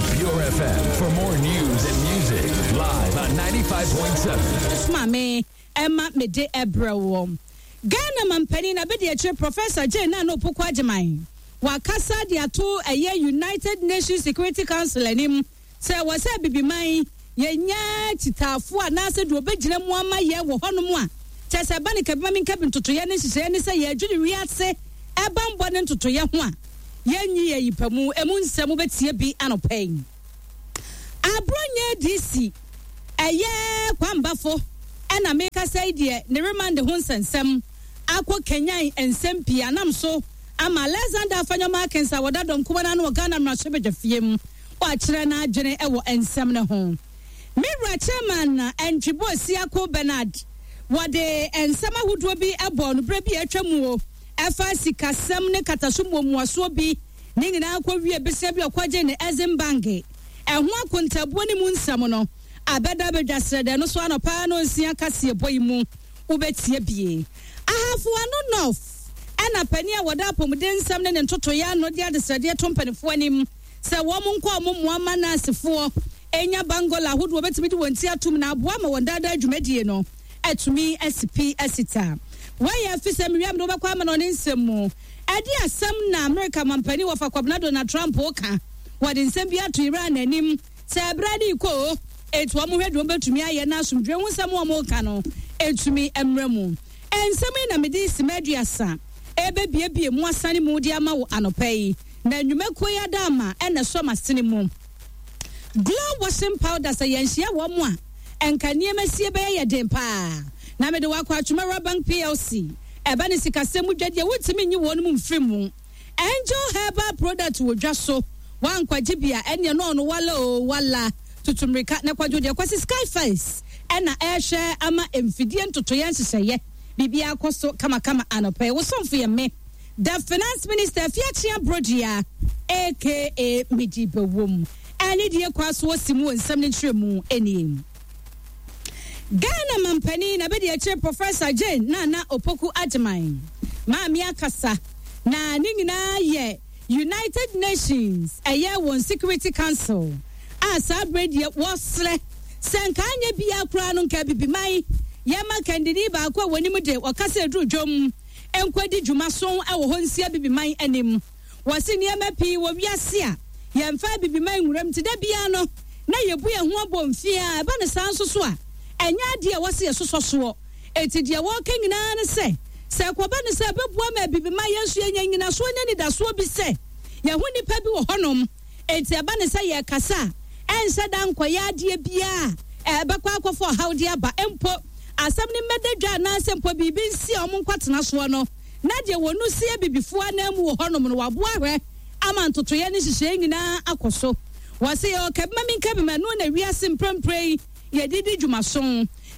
Follow Pure FM for more news and music live on 95.7. Maame ɛma mede ɛbrɛ wɔ Ghana mampanin na bɛdi akyire Professor Jane Nana Opoku Agyemang wakasa de ato ɛyɛ United Nations Security Council anim sɛ wɔ sɛ Abibiman yɛnya kyitaafoɔ anaasɛ deɛ ɔbɛgyina mu ama yɛn wɔ hɔnom a kyɛ sɛ ɛba ne kabima menkabi ntotoyɛ ne nhyehyɛeɛ ne sɛ yɛadwene wiase ɛbanbɔ ne ntotoyɛ ho a yɛnyi yɛ yipa mu emu nsɛm wobɛtie bi anɔpa yi. Abronyɛ DC ɛyɛ Kwambafo ɛna mekasa yi deɛ ne remand ho nsɛnsɛm akɔ kanyan nsɛm pii anam so ama Alexander Afenyo Markins a wɔda dɔm kuma no ano wɔ Ghana mmarahyɛbadwafie mu wakyerɛ n'adwene wɔ nsɛm no ho. Me wura Chairman Antwi Boasiako Bernard wɔde nsɛm ahodoɔ bi bɔɔ no berɛ bi a atwa mu o ɛfa sikasɛm ne kataso mmuamuasoɔ bi ne nyinaa kɔ wie besia bi ɔkɔgye ne Exim Bank ɛho akontabuo ne mu nsɛm no abɛda abɛdwa srɛdɛ no so anɔpa no nsia kaseɛbɔ yi mu wobɛtie bie. Ahafo Ano North ɛna panin a wɔda apɔmuden nsɛm ne ne ntotoeɛ ano de adesrɛdeɛ to mpanimfoɔ anim sɛ wɔn nkɔ wɔn mmoa ma nɛɛsefoɔ nya bangola ahodoɔ bɛtumi de wɔn ti atom na aboa ma wɔn daadaa dwumadie no atumi asi pi asi ta. Wei yɛ afisɛ mewia mede wobɛkɔ ama no ɔne nsɛm mu. Ɛde asɛm na Amerika mampanin wɔfa Kwabena Donald Trump ka. Wɔde nsɛm bi ato Iran anim sɛ ɛberɛ ne rekɔ o, enti wɔn hwɛ deɛ wɔbɛtumi ayɛ na asomdwoeɛ ho nsɛm a wɔreka no ɛtumi mmra mu. Nsɛm yi na mede simma 30 ɛrebɛbiebie mu asane mu de ama wo anɔpa yi. Na nnwumakuo yi adaama na ɛsɔ m'asene mu. Glow washing powder sɛ yɛnhyia wɔn a, nka nneɛma sie bɛyɛ yɛ den paa. Na mede wo akɔ Atwomawura Bank PLC. Ɛba ne sikasɛm mu dwadie wontumi nyi wɔn mu mfiri mu. Angel herbal product wɔ dwa so. Woankwagye bi a, ɛneɛ na ɔno wala oo wala. Tutu mmirika na kwadwo deɛ Kwasi Sky Face ɛna ɛrehwɛ ama mfidie ntotoeɛ nhyehyɛeɛ. Biribiara kɔ so kamakama anɔpa yi. Wo somfo yɛ me. The Finance Minister Afiakyea Brodua aka Medi Bɛwom ɛne deɛ kɔ aso ɔsi mu wɔ nsɛm no nkyerɛmu nie. Ghana mampanin na bɛdi akyire Professor Jane Nana Opoku Agyemang maame akasa na ne nyinaa yɛ United Nations ɛyɛ wɔn Security Council a saa berɛ deɛ wɔsrɛ sɛ nka anyɛ biara koraa no nka Abibiman yɛma kandini baako a wɔnim de ɔkasa aduru dwom nkɔdi dwuma so wɔ hɔ nsi Abibiman anim. Wɔse nneɛma pii wɔ wiase a yɛmfa Abibiman nwura mu nti da biara no na yɛbu yɛn ho abomfiaa. Ɛba no saa nso so a, ɛnyɛ adeɛ a ɛwɔ sɛ yɛsosɔ soɔ. Enti deɛ wɔreka nyinaa ne sɛ, sɛ ɛkɔba no sɛ ɛbɛboa ma Abibiman yɛn nso yɛnya nnyinasoɔ ne anidasoɔ bi sɛ yɛho nnipa bi wɔ hɔnom. Enti ɛba no sɛ yɛrekasa a, ɛnhyɛ da nkɔyɛ adeɛ biara a ɛbɛkɔ akɔfa ɔhaw de aba. Mpo asɛm no mmɛda dwa anaasɛ mpo biribi nsi a wɔnkɔtena soɔ no, na deɛ wɔn si Abibifoɔ ananmu wɔ hɔnom no, wɔaboa ahwɛ ama ntotoeɛ ne nhyehyɛeɛ nyinaa akɔ so. Wɔse yɛwɔ kabima menkabima, ɛno na wiase mprempren yi yɛde di dwumaso.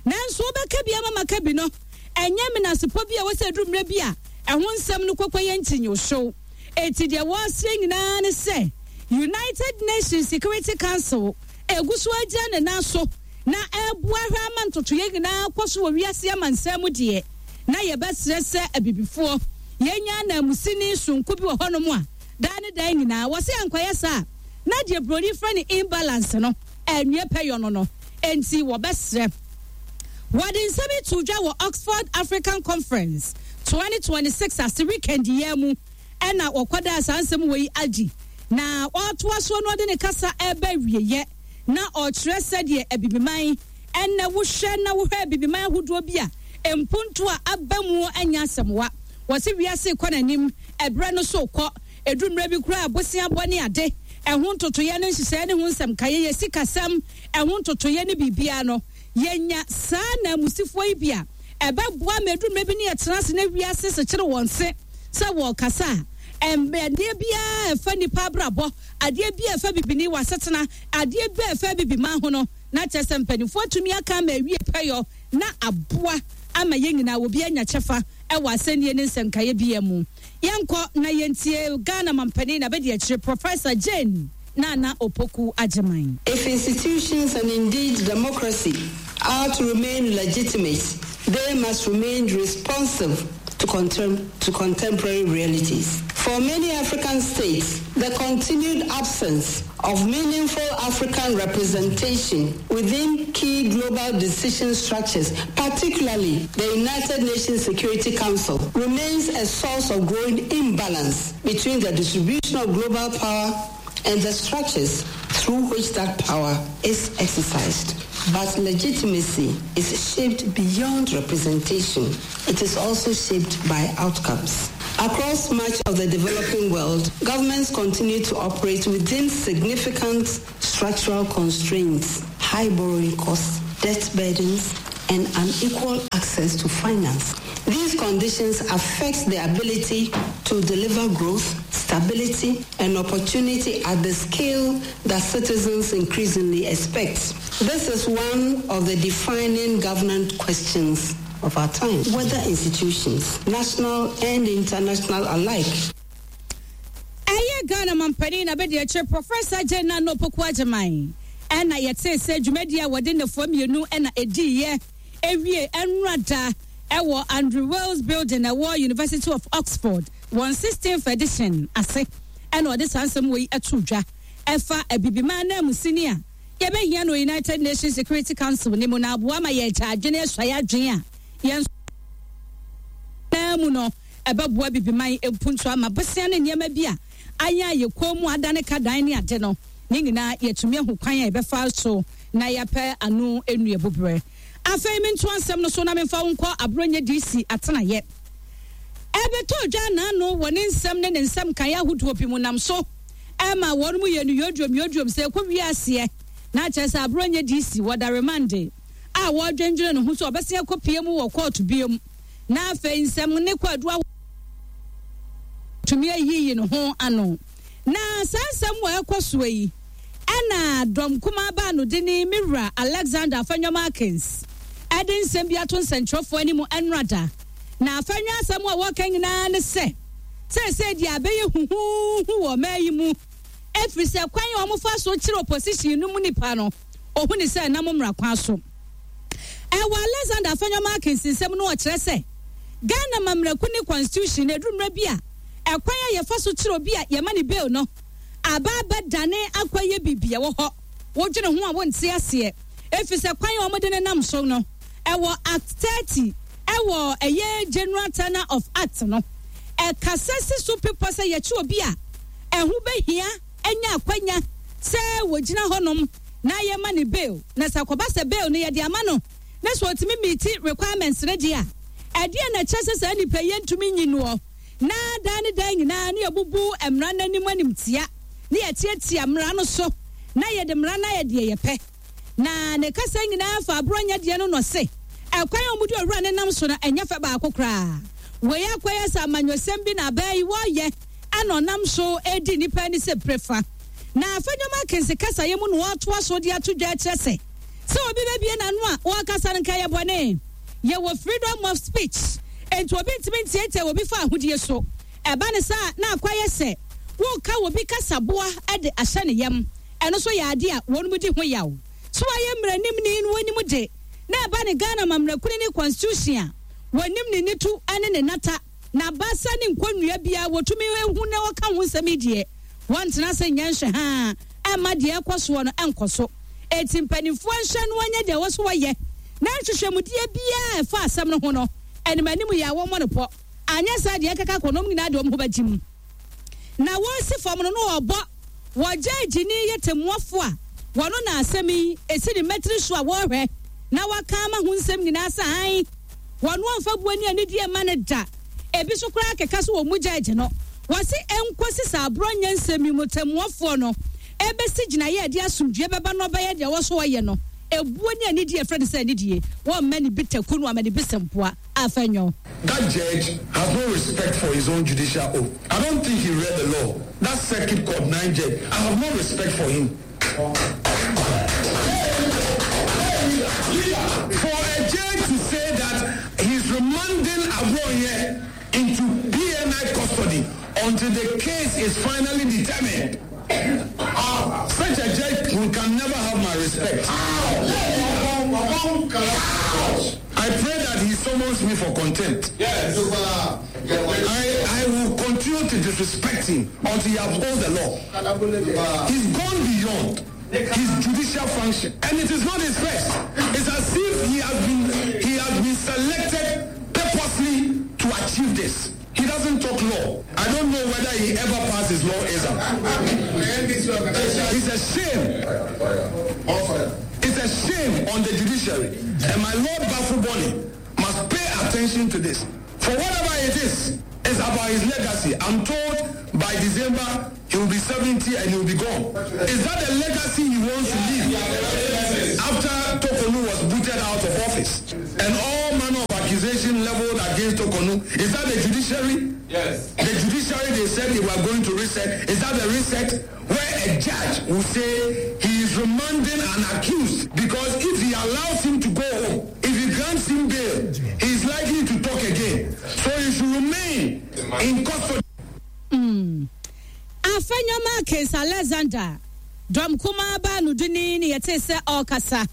Nanso wobɛka bi ama maka bi no, ɛnyɛ menasepɔ bi a ɛwɔ sɛ ɛduru mmerɛ bi a ɛho nsɛm no kɔkɔyɛ nkyinyohyew. Enti deɛ wɔresrɛ nyinaa ne sɛ United Nations Security Council ɛgu so agyina ne nan so na ɛreboa hwɛ ama ntotoeɛ nyinaa kɔ so wɔ wiase amansan mu deɛ, na yɛbɛsrɛ sɛ Abibifoɔ yɛnya ananmusini sononko bi wɔ hɔnom a daa ne daa nyinaa wɔse ankɔyɛ saa a na deɛ buroni frɛ no imbalance no anwie pɛyɔ no no enti wɔbɛsrɛ. Wɔde nsɛm yi too dwa wɔ Oxford African Conference 2026 ase weekend yi ara mu na wɔkɔdaa saa nsɛm wei adi. Na ɔretoa soɔ no ɔde ne kasa reba awieɛ na ɔrekyerɛ sɛdeɛ Abibiman ɛnnɛ wohwɛ na wohwɛ Abibiman ahodoɔ bi a mpuntuo a aba mu nyɛ asɛmwa. Wɔse wiase rekɔ n'anim, ɛberɛ no so rekɔ. Ɛduru mmerɛ bi koraa a boseabɔ ne ade, ɛho ntotoeɛ ne nhyehyɛeɛ ne ho nsɛmkaeɛ, yɛ sikasɛm, ɛho ntotoeɛ ne biribiara no, yɛnya saa ananmusifoɔ yi bi a, ɛbɛboa ma ɛduru mmerɛ bi ne yɛtena ase na wiase sekyere wɔn se sɛ wɔrekasa a, adeɛ biara a ɛfa nnipa abrabɔ, adeɛ biara a ɛfa bibini wɔ asetena, adeɛ biara a ɛfa abibiman ho no, na kyerɛ sɛ mpanimfoɔ atumi aka ama awie pɛyɔ na aboa ama yɛn nyinaa obi anya kyɛfa wɔ asɛnnie ne nsɛnkaeɛ biara mu. Yɛnkɔ na yɛntie Ghana mampanin na bɛdi akyire Professor Jane Nana Opoku Agyemang. If institutions and indeed democracy are to remain legitimate, they must remain responsive to, contem to contemporary realities. For many African states, the continued absence of meaningful African representation within key global decision structures, particularly the United Nations Security Council, remains a source of growing imbalance between the distribution of global power and the structures through which that power is exercised. But legitimacy is shaped beyond representation. It is also shaped by outcomes. Across much of the developing world, governments continue to operate within significant structural constraints, high borrowing costs, debt burdens, and unequal access to finance. These conditions affect the ability to deliver growth, stability, and opportunity at the scale that citizens increasingly expect. This is one of the defining governance questions of our time, whether institutions, national and international alike, Ɛyɛ Ghana mampanin abadiakyire Professor Jane Nana Opoku Agyemang ɛna yɛtee sɛ dwumadie a wɔde nnafua mmienu na ɛdiiɛ ɛwie ɛnora da ɛwɔ Andrew Wales Building ɛwɔ University of Oxford wɔn 16th edition ase ɛna ɔde saa nsɛm wei ɛto dwa ɛfa Abibiman ananmusini a yɛbɛhia no United Nations Security Council no mu na aboa ma yɛagya adwene asuae adwene a yɛn naa mu no ɛbɛboa Bibiman mpuntuo ama bosea ne nneɛma bi a ayɛ a yɛ kɔn mu adane ka dan ne ade no ne nyinaa yɛatumi ahu kwan a yɛbɛfa so na yɛapɛ ano nnuabuberɛ. Afei mentoa nsɛm no so na memfa wo nkɔ Aborɔnyɛ DC atenaeɛ. Ɛbɛtɔɔ dwa naano wɔ ne nsɛm ne ne nsɛm nkaeɛ ahodoɔ bi mu nam so ɛma wɔn mu yɛ no yodwom yodwom sɛ ɛkɔ wie aseɛ na akyerɛ sɛ Aborɔnyɛ DC wɔda remande a wɔredwendwene ne ho sɛ ɔbɛsen akɔpie mu wɔ kɔɔto biom na afei nsɛm ne kwaadu ahodoɔ tumi ayiyi ne ho ano. Na saa nsɛm wɔ ɛkɔ soɔ yi ɛna dɔm kumaa baanodini me wura Alexander Afenyo Markins ɛde nsɛm bi ato nsɛnkyerɛfoɔ anim ɛnora da. Na Afenyo asɛm a wɔka nyinaa ne sɛ seesei deɛ abɛyɛ huhuuhu wɔ ɔman yi mu ɛfiri sɛ kwan a wɔfa so kyerɛ opposition no mu nipa no ɔhu ne sɛ ɛnam mmara kwan so. Ɛwɔ Alexander Afenyo Markins nsɛm no ɔkyerɛ sɛ Ghana mamraku ne constitution no ɛduru mmerɛ bi a ɛkwan a yɛfa so kyerɛ obi a yɛma ne bail no aba abɛdane akɔyɛ biribi ɛwɔ hɔ wodwene ho a wonte aseɛ ɛfiri sɛ kwan a wɔde ne nam so no ɛwɔ Act 30 ɛwɔ ɛyɛ General Tenor of Act no ɛkasa si so pepɔ sɛ yɛkye obi a ɛho bɛhia anya akwanya sɛ wɔgyina hɔnom na yɛma no bail na sɛ akɔba sɛ bail no yɛde ama no na sɛ ɔtumi meeti requirements no deɛ a, ɛdeɛn na ɛkyerɛ sɛ saa nipa yi yɛntumi nyi noɔ na daa ne daa nyinaa ne yɛbubu mmara no anim animtia ne yɛtiatia mmara no so na yɛde mmara no ayɛ deɛ yɛpɛ. Na ne kasa nyinaa fa aborɔnyɛ deɛ no na ɔse ɛkwan a wɔde owura no nam so no ɛnyɛ fɛ baako koraa. Wei akɔyɛ sɛ amanyɔsɛm bi na abaa yi wɔreyɛ ɛna ɔnam so redi nnipa ani sɛ prefa. Na Afenyo Markins kasaeɛ mu na ɔretoa so de ato dwa kyerɛ sɛ, sɛ obi bɛbue n'ano a ɔrekasa no nka ɛyɛ bɔne. Yɛwɔ freedom of speech, enti obi ntumi ntiatia obi fa ahodie so. Ɛba no saa a, na akɔyɛ sɛ woreka obi kasaboa de ahyɛ ne yam. Ɛno nso yɛ adeɛ a wɔnom di ho yaw. So wayɛ mmaranimni no wɔnim de, na ɛba ne Ghana amammerɛ ne constitution a, wɔnim ne nitu ne ne nata. N'abasa ne nkonnua biara wɔtumi hu na wɔka ho nsɛm yi deɛ, wɔntena ase nyɛ nhwɛhaa mma deɛ ɛrekɔ soɔ no nkɔ so. Enti mpanimfoɔ nhwɛ na wɔnyɛ deɛ ɛwɔ so wɔyɛ, na nhwehwɛmudeɛ biara a ɛfa asɛm no ho no, anim anim yɛ a wɔmmɔ no pɔ. Anyɛ saa deɛ ɛkeka kɔ no, wɔn nyinaa de wɔn ho bɛgyem. Na wɔresi fam no, na wɔrebɔ wɔ gyɛɛgyeni yɛ tɛmmuafo a wɔno na asɛm yi si ne mmatiri so a wɔrehwɛ na waka ama ho nsɛm nyinaa sɛ aane, wɔno ɔmfa buo ne anidie mma no da. Ebi so koraa keka so wɔmmu gyɛɛgye no. Wɔse ɛnkosi sɛ aborɔ nyɛ nsɛm yi mu tɛmmuafoɔ no ɛbɛsi gyinaeɛ a ɛde asomdwoeɛ bɛba na ɔbɛyɛ deɛ ɛwɔ so ɔyɛ no. Ebuo ne anidie a ɛfrɛ no sɛ anidie, wɔmma ne bi taku no ama ne bi sɛmpoa. Afenyo. That judge has no respect for his own judicial oath. I don't think he read the law. That circuit court nine judge, I have no respect for him. For a judge to say that he's remanding Abronye into PNI custody until the case is finally determined. Such a judge can never have my respect. I pray that he summons me for contempt. Yes. I, I will continue to. disrespect him until he upholds the law. He's gone beyond his judicial function. And it is not his first. It's as if he has been he has been selected purposely to achieve this. He doesn't talk law. I don't know whether he ever passed his law exam. It's a shame. It's a shame on the judiciary. And my Lord Baffoe-Bonnie must pay attention to this. For whatever it is, it's about his legacy. I'm told by December he will be 70 and he will be gone. Is that the legacy he wants to leave? After Torkornoo was booted out of office and all manner of accusation leveled against Torkornoo, is that the judiciary? Yes. The judiciary, they said they were going to reset. Is that the reset? Where a judge will say he is remanding an accused because if he allows him to go home, if he grants him bail, he is likely to talk again. So he should remain in custody. Afenyo-Markin Alexander, dɔm kumaa baanodini ne yɛtee sɛ ɔrekasa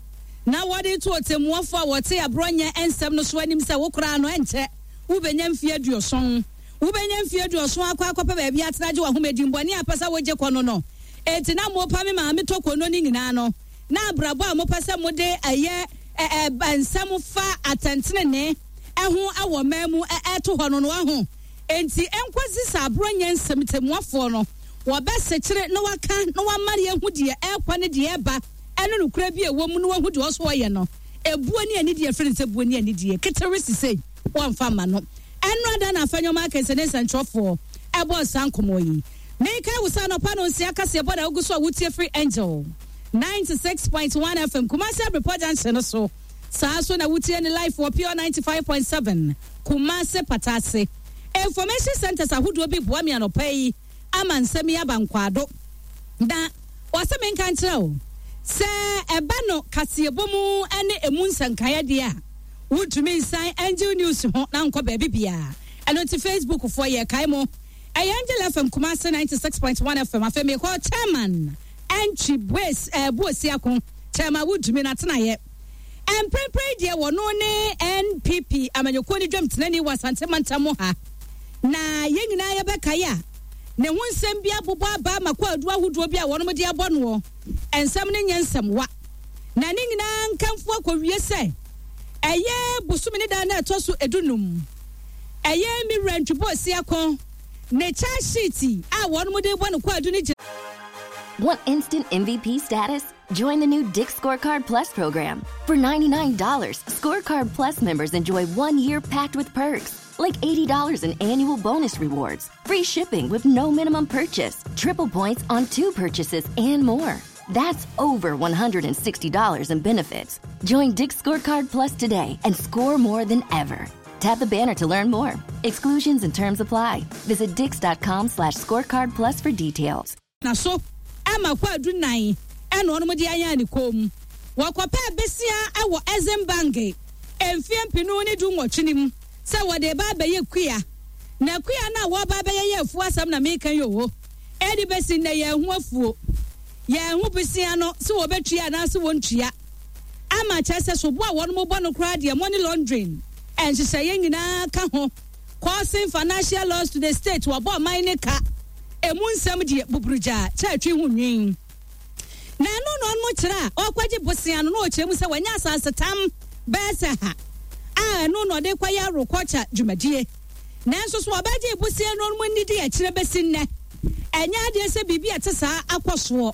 na wɔde to ɔtɛmmuafo a wɔte aborɔnyɛ nsɛm no so anim sɛ wo koraa no ɛnkyɛ wobɛnya mfeɛ 70. Wobɛnya mfeɛ 70 akɔ akɔpɛ baabi atena gye w'ahome dimbɔne a pɛ sɛ wogye kɔ no no. Enti na mopa me maame Torkornoo no nyinaa no, na abrabɔ a mopɛ sɛ mode ɛyɛ nsɛm fa atɛntenenee ɛho wɔ man mu ɛto hɔ no no waho. Enti ɛnkɔsi sɛ aborɔnyɛ nsɛm tɛmmuafoɔ no wɔbɛsekyere na waka na wama yɛhu deɛ ɛrekɔ ne deɛ ɛreba ɛne nokorɛ bi a ɛwɔ mu na wahu deɛ ɔso ɔyɛ no. Ebuo ne anidie firi ne sɛ buo ne anidie ketewe sisei wɔmfa mma no. Ɛno ada na Afenyo-Markin ne nsɛntwerɛfoɔ ɛbɔ saa nkɔmmɔ yi. Meka wo sɛ anɔpa no nsia kaseɛ bɔ na wogu so a wotie firi Angel 96.1 FM Kumasi Abrepɔ Junction no so. Saa so na wotie ne live wɔ Pure 95.7 Kumasi Patase. Information centers ahodoɔ bi boa me anɔpa yi ama nsɛm yi aba nkwaado. Na wɔsɛ menka nkyerɛ wo sɛ ɛba no kaseɛbɔ mu ne emu nsɛnkaeɛ deɛ a wontumi nsan Angel News ho na nkɔ baabi biara. Ɛno nti Facebook foɔ yɛ kae mo. Ɛyɛ Angel FM Kumasi 96.1 FM. Afei mekɔ chairman Antwi Bues Buosiako. Chairman wontumi na tenaeɛ. Mprempren deɛ wɔno ne NPP amanyɔkuo ne dwam tenani wɔ Asante mantam ha. Na yɛn nyinaa yɛbɛkae a ne ho nsɛm bi abobɔ aba ama kwaadu ahodoɔ bi a wɔnom de abɔ noɔ. Nsɛm no nyɛ nsɛmwa. Na ne nyinaa nkamfo akɔwie sɛ ɛyɛ bosome ne da na ɛtɔ so 15. Ɛyɛ me wura Ntwi Boasiako ne charge sheet a wɔnom de bɔ no kwaadu ne gyina. Want instant MVP status? Join the new Dick's Scorecard Plus program. For $99, Scorecard Plus members enjoy 1 year packed with perks, like $80 in annual bonus rewards, free shipping with no minimum purchase, triple points on two purchases, and more. That's over $160 in benefits. Join Dick's Scorecard Plus today and score more than ever. Tap the banner to learn more. Exclusions and terms apply. Visit dicks.com/scorecard plus for details. Na so ama kwaadu nan ɛna ɔnom de ayɛ ne kɔn mu. Wɔkɔpɛ besia ɛwɔ Exim Bank mfeɛ 2018 no mu sɛ wɔde ba abɛyɛ kua. Na kua no a wɔba abɛyɛ yɛ afuo asɛm na meka yi o. Ɛde bɛsi nnɛ yɛn ho afuo. Yɛn ho besia no sɛ wɔbɛtua anaasɛ wɔntua. Ama kyerɛ sɛ sobo a wɔnom bɔ no koraa deɛ money laundering nhyehyɛeɛ nyinaa ka ho. Causing financial loss to the state, wɔbɔ ɔman ne ka. Emu nsɛm deɛ buburugya kyɛ atwi ho nwin. Na ɛno na ɔno kyerɛ a ɔkɔgye bosea no na ɔkyerɛ mu sɛ wɔnyɛ asase tam bɛyɛ sɛ ha a ɛno na ɔde kɔyɛ agriculture dwumadie. Nanso so ɔbɛgye bosea no mu nidi akyerɛ bɛsi nnɛ. Ɛnyɛ adeɛ sɛ biribi a ɛte saa akɔ soɔ.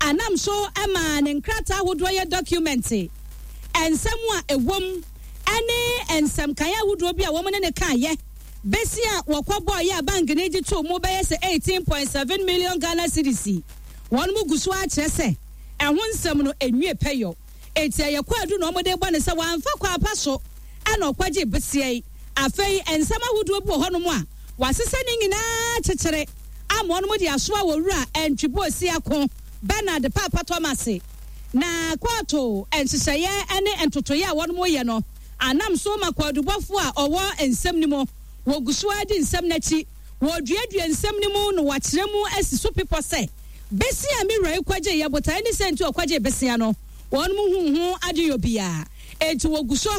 Anam so ma ne nkrataa ahodoɔ yɛ document. Nsɛm a ɛwɔ mu ɛne nsɛmkan ahodoɔ bi a wɔn ne ne kaayɛ. Besi a wɔkɔ bɔɔ yɛ a bank ne gye too mu bɛyɛ sɛ 18.7 million Ghana cedis. Wɔn mu gu so akyerɛ sɛ ɛho nsɛm no enwie pɛyɔ. Eti ɛyɛ kwaadu na wɔde bɔ ne sɛ wɔamfa kwan pa so ɛna ɔkɔgye besia yi. Afei nsɛm ahodoɔ bi wɔ hɔnom a wɔasesa ne nyinaa kyekyere ama wɔn de asoa wɔ wura Antwi Boasiako Bernard Papa Thomas. Na kɔɔto nhyehyɛeɛ ne ntotoeɛ a wɔn yɛ no anam so ma kwaadubɔfoɔ a ɔwɔ nsɛm no mu wɔgu so adi nsɛm n'akyi. Wɔduadua nsɛm no mu na wɔakyerɛ mu asi so pepɔ sɛ besia mi wura yi kɔgye yɛ botae ne sɛ nti ɔkɔgye besia no wɔn mu huhu adeyɔ biara. Enti wɔgu so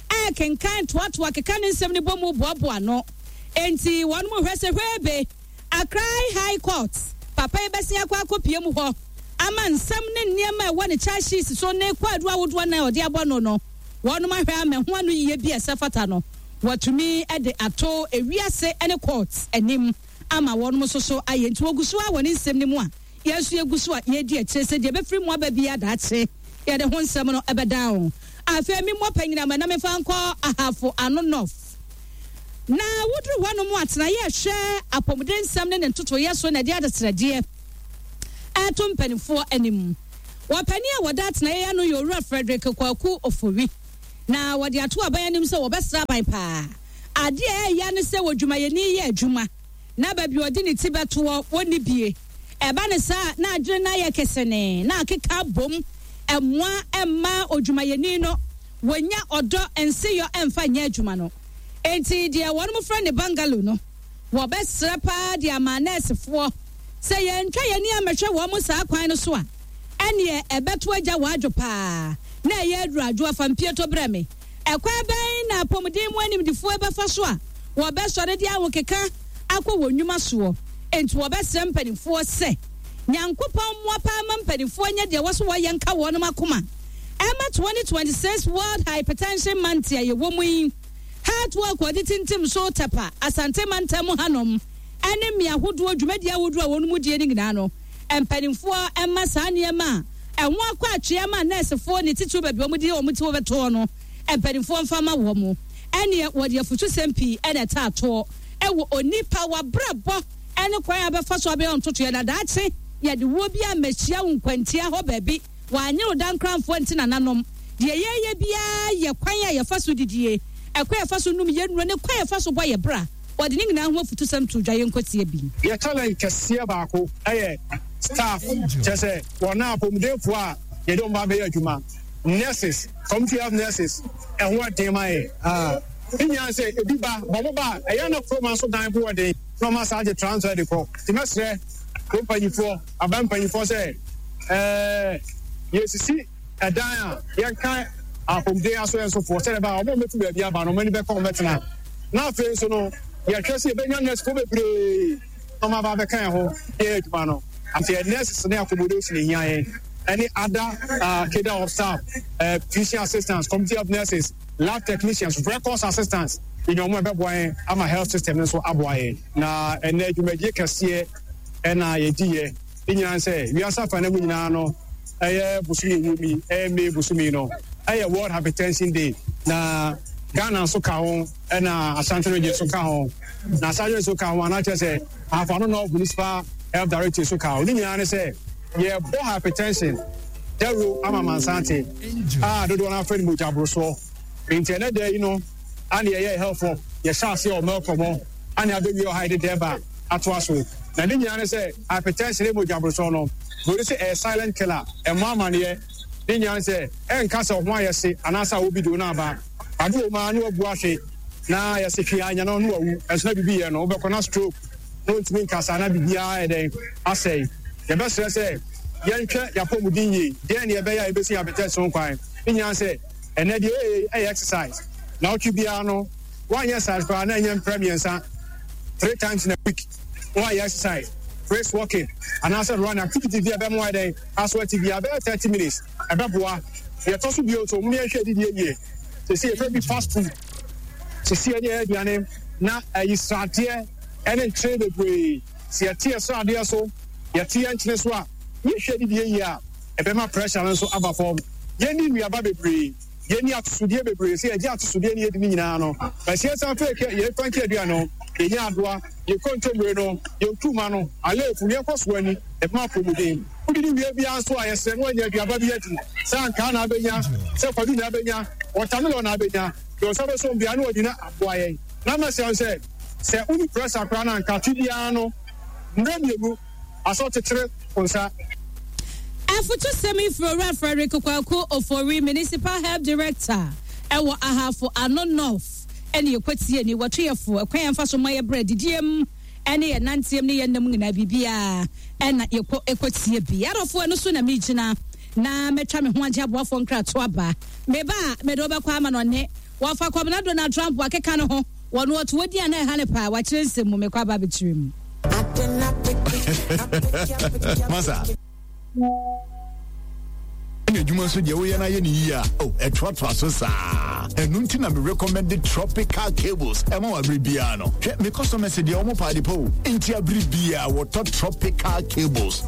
ɛkenkan toatoa keka ne nsɛm no bɔ mu boaboa no. Enti wɔn mu hwɛ sɛ hwɛebe. Accra High Court, papa yi bɛsen akɔ akɔpue mu hɔ ama nsɛm ne nneɛma a ɛwɔ ne charge sheet so ne kwaadu ahodoɔ nan a ɔde abɔ no no, wɔnom ahwɛ ama ɛho anoyie bi a ɛsɛ fata no, wɔatumi de ato ewiase ne court anim ama wɔnom nso so ayɛ. Nti wɔgu so ara wɔ ne nsɛm no mu a yɛn nso yɛgu so a yɛredi akyire sɛ deɛ ɛbɛfiri mu aba biara daakye yɛde ho nsɛm no bɛdan wo. Afei memmɔ panyinam na memfa nkɔ Ahafo Ano North. Na woduru hɔnom a, tenaeɛ a ɛhwɛ apɔmuden nsɛm ne ne ntotoeɛ so na ɛde adesrɛdeɛ reto mpanimfoɔ anim. Ɔpanin a wɔda atenaeɛ yi ano yɛ Owura Frederick Kwaku Ofori, na wɔde ato aban anim sɛ wɔbɛsrɛ aban paa. Adeɛ a ɛyɛ ne sɛ odwumayɛni yɛ adwuma na baabi a ɔde ne ti bɛtoɔ wɔnni bie. Ɛba no saa a, na adwene no ayɛ kesenee na akeka abom. Ɛmmoa mma odwumayɛni no wɔnya ɔdɔ nseyɔ mfa nyɛ adwuma no. Enti deɛ wɔnom frɛ no bungalow no, wɔbɛsrɛ paa de ama nɛɛsefoɔ sɛ yɛntwa yɛn ani ammɛhwɛ wɔn saa kwan no so a, ɛneɛ ɛbɛto agya wɔ adwo paa na ɛyɛ aduru adwo afa mpieto brɛ me. Ɛkwan bɛn na apɔmuden mu animdefoɔ bɛfa so a wɔbɛsɔre de ahokeka akɔ wɔn nnwuma soɔ? Enti wɔbɛsrɛ mpanimfoɔ sɛ Nyankopɔn mmoa paa ma mpanimfoɔ nyɛ deɛ ɛwɔ so wɔyɛ nka wɔnom akoma. Ɛma 2026 World Hypertension Month a yɛwɔ mu yi, Heart Walk a wɔde tintim so Tɛpa, Asante mantam mu hanom ne mmea ahodoɔ dwumadie ahodoɔ a wɔnom die no nyinaa no, mpanimfoɔ mma saa nneɛma a ɛho akɔ atwea ma nɛɛsefoɔ ne titiriw baabi a wɔde wɔn ti bɛtoɔ no, mpanimfoɔ mfa mma wɔn. Ɛnneɛ wɔde afutusɛm pii na ɛtaa toɔ wɔ onipa w'abrabɔ ne kwan a wobɛfa so abɛyɛ ntotoeɛ na daakye yɛde wuo bi ammɛhyia wo nkwantia hɔ baabi. Wɔanyere wo dankranfoɔ nti nananom. Deɛ yɛreyɛ biara yɛ kwan a yɛfa so didie, ɛkwan a yɛfa so nom yɛn nnuro ne kwan a yɛfa so bɔ yɛn bra. Wɔde ne nyinaa ho afutusɛm too dwa. Yɛnkɔtie bi. Yɛ challenge kɛseɛ baako yɛ staff, kyerɛ sɛ wɔn a apɔmudenfoɔ a yɛde wɔn ba abɛyɛ adwuma, nurses, community health nurses, ɛho ɛden ma yɛn. Ne nyinaa sɛ ebi ba, ba wɔn ba a, ɛyɛ na kurom nso dan bo ɔden na wɔn asan agye transfer de kɔ. Nti mɛsrɛ kurom mpanyinfoɔ, aban mpanyinfoɔ sɛ ɛɛ yɛsisi ɛdan a yɛnka apɔmuden asoɛ nsofoɔ sɛdeɛ ɛbɛyɛ a wɔn a wɔbɛtu baabi aba no wɔn ani bɛkɔ wɔn bɛtena. Na afei nso no yɛhwɛ sɛ yɛbɛnya nursefoɔ bebree na wɔn aba abɛka yɛn ho yɛyɛ adwuma no. Nti yɛ nurses ne accommodation ehia yɛn ɛne other cadre of staff, physician assistants, community health nurses, lab technicians, records assistants, yɛnya wɔn a ɛbɛboa yɛn ama health system no nso aboa yɛn. Na ɛnɛ dwumadie kɛseɛ ɛna yɛdiiɛ. Ne nyinaa ne sɛ wiase afanan mu nyinaa no ɛyɛ bosome ɛwɔ mu yi, ɛyɛ May bosome yi no ɛyɛ World Hypertension Day, na Ghana nso ka ho ɛna Ashanti Region nso ka ho, na Ashanti Region nso ka ho anaa kyerɛ sɛ Ahafo Ano North Municipal Health Directorate nso ka ho. Ne nyinaa ne sɛ yɛbɔ hypertension dawuro ama amansan te a dodoɔ no afrɛ no mogya borosoɔ. Nti ɛnɛ da yi no ane yɛyɛ health work, yɛhyɛ aseɛ wɔ Melcom hɔ ane abɛwie ɔha yɛde dɛba atoa so. Na ne nyinaa ne sɛ hypertension ne mogya borosoɔ no, buroni sɛ ɛyɛ silent killer, ɛmmɔ amaneɛ. Ne nyinaa ne sɛ ɛnka sɛ wo ho ayɛ hye anaasɛ awɔ bi de wo no aba. Ade wɔ mu ara na wabu ahwe na yɛse hwee anya no na wawu. Ɛnso na biribi yɛ no, wobɛkɔ na stroke na ɔntumi nkasa na biribiara ayɛ dɛn asɛe. Yɛbɛsrɛ sɛ yɛnhwɛ yɛn apɔmuden yie. Deɛn na yɛbɛyɛ a yɛbɛsi hypertension ho kwan? Ne nyinaa ne sɛ ɛnnɛ deɛ yɛyɛ yi yɛ exercise. Naawɔtwe biara no, woanyɛ exercise koraa na ɛnyɛ mprɛ mmiɛnsa, three times in a week, na woayɛ exercise, brisk walking anaasɛ running, activity bi a ɛbɛma woayɛ dɛn aso ate biara bɛyɛ 30 minutes, ɛbɛboa. Deɛ ɛtɔ so bio nso, mom yɛnhwɛ adidie yie. Seesei yɛfrɛ bi fast food. Seesei ɛne ɛyɛ aduane na ɛyi sradeɛ ɛne nkyene bebree. Sɛ yɛte yɛ sradeɛ so, yɛte yɛ nkyene so a, yɛhwɛ adidie yie a, ɛbɛma pressure no nso aba fam. Yɛnni nnuaba bebree. Yɛnni atosodeɛ bebree. Sɛ yɛgye atosodeɛ ne yɛdi ne nyinaa no, ɛsɛ yɛsan fa yɛ yɛn franke aduane no, yɛnya adoa, yɛn kontommire no, yɛn nkruma no, aleefu no, yɛnkɔ so ani, ɛbɛma apɔmuden. Wodidi wie biara nso a, yɛsrɛ na woanya aduaba bi adi. Sɛ ankaa na abɛnya, sɛ kwadu na abɛnya, wɔtamelɔn na abɛnya, deɛ wo nsa bɛsɔ mu biara na wadi na aboa yɛn. Na mɛsrɛ wo sɛ, sɛ wonni prɛsa koraa no a, anka afe biara no, mmerɛ mmienu, asɛ ɔkyekyere wo nsa. Afotusɛm yi firi Owura Frederick Kwaku Ofori, Municipal Health Director wɔ Ahafo Ano North ɛne yɛkɔtie ni. Wɔto yɛ fo ɛkwan yɛmfa so ma yɛ brɛ didiem ɛne yɛ nanteɛm ne yɛ nnam nyinaa biribiara ɛna yɛkɔ ɛkɔtie bi. Adɔfoɔ ɛno so na megyina na mɛtwa me ho agye aboafoɔ nkrato aba. Meba a mede wobɛkɔ ama no ɔne wɔfa Kwabena Donald Trump wakeka ne ho wɔn ɔto wɔ din a na ɛha ne paa wakyerɛ nsɛm mu mekɔ aba abɛkyerɛ mu. Masa. Ɛna adwuma nso deɛ woyɛ no ayɛ ne yie a, oh, ɛtoatoa so saa. Ɛno nti na me recommend Tropical Cables ɛma wɔ abere biara no. Hwɛ, me customers deɛ wɔn paade pa o. Nti abere biara wɔtɔ Tropical Cables.